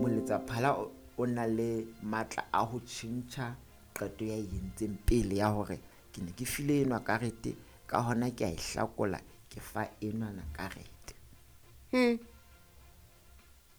Moletsaphala o na le matla a ho tjhentjha qeto ya e entseng pele ya hore ke ne ke file enwa karete, ka hona ke a e hlakola, ke fa enwana karete.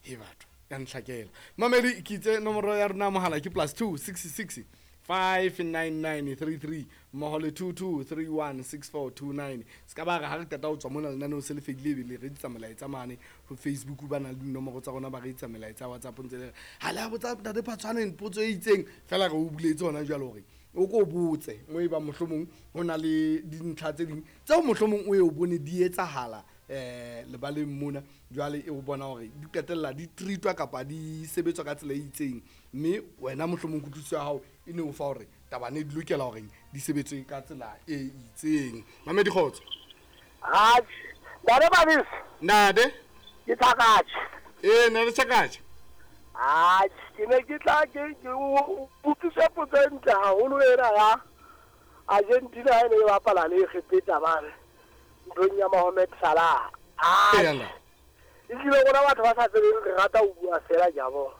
He batho ya ntlhakela mamedi ke itse nomoro ya rona mohala ke +2 66 599 33 mmoho le 22 31 6429. Se ka ba re ha re qeta ho tswa mona lenaneo se le fedile ebe le re etsa melaetsa mane ho Facebook, ba na le dinomoro tsa rona, ba re etsa melaetsa ya WhatsApp ntse le re ha le a botsa ntate Phatshwaneng potso e itseng fela re o buletse hona jwale hore o ko botse mo e bang mohlomong ho na le dintlha tse ding tseo mohlomong o ye o bone di etsahala lebaleng mona jwale e o bona hore di qetella di treatwa kapa di sebetswa ka tsela e itseng, mme wena mohlomong kutlwisiso ya hao e ne o fa hore taba ne di lokela hore di sebetswe ka tsela e itseng. Mamedi kgotso. Atjhe, ntate Babisi. Ntate. Ke Tshakatjhe. Ee, ntate Tshakatjhe. Atjhe, ke ne ke tla ke o utlwise potso e ntle haholo ena ya Argentina ha e ne e bapala le Egepeta mane nthong ya Mohamed Salah. Atjhe, ehlile rona batho ba sa tsebeng re rata ho bua fela ke a bona.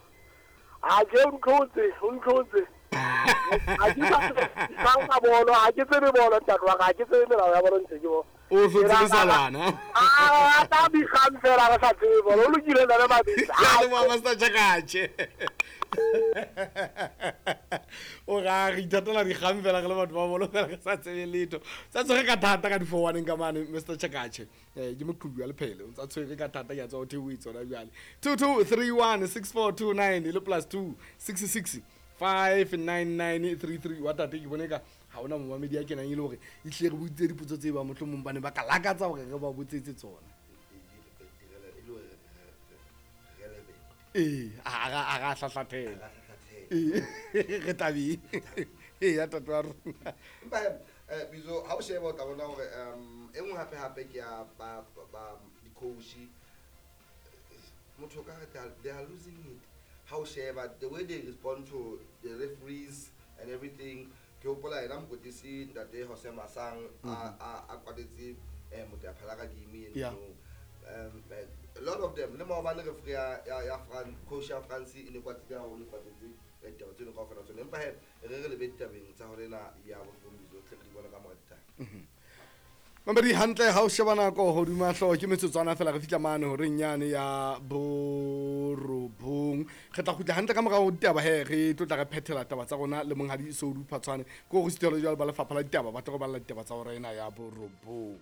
Atjhe, o ntlhotse, o ntlhotse. Ha ke sa ka bolo, ha ke tsebe bolo ntate wa ka, ha ke tsebe melao ya bolo ntse ke bona. O hlotse le salana. A ta dikgang fela re sa tsebe bolo. O lokile ntate Mabitso. Ke a leboha Master Tshakatjhe. O ra re ithatela dikgang fela re le batho ba bolo fela re sa tsebe letho. Sa tshwere ka thata ka di-four-one ka mane Mr Tshakatjhe. Ke moqhubi wa lephele, o ntsa tshwere ka thata ke a tswa ho theohetse hona jwale. 2231 6429 le +2 66 599 33 wa tate ke bone ka ha ona momamedi ya kenang e le hore e hlile re boditse dipotso tse ba mohlomong ba ne ba ka lakatsa hore re ba botsetse tsona. Ee, a ra hlahlathela. Ee, re tabeng. Ee, ya tate wa rona. Empa Bizo, ha o sheba o tla bona hore e nngwe hape hape ke ya ba di-coach. Motho ka re they are losing it. Ha o sheba the way they respond to the referees and everything. Ke hopola yena mokwetlisi ntate Jose Masang a kwatetse Motaphala ka game eno. A lot of them le maobane referee ya France, coach ya France e ne kwatile haholo, e kwatetse ditaba tseno kaofela tsona. Empa he re lebe ditabeng tsa hore ena ya bohloko Bizo, tle re di bona ka mora ditaba. Mamedi hantle ha o sheba nako hodima hlooho ke metsotswana fela re fihla mane horeng yane ya borobong. Re tla kgutla hantle ka morao ho ditaba he re tlo tla re phethela taba tsa rona le monghadi Soudu Phatshwane. Ko re sitelo jwale ba lefapha la ditaba ba tlo re balla ditaba tsa hora ena ya borobong.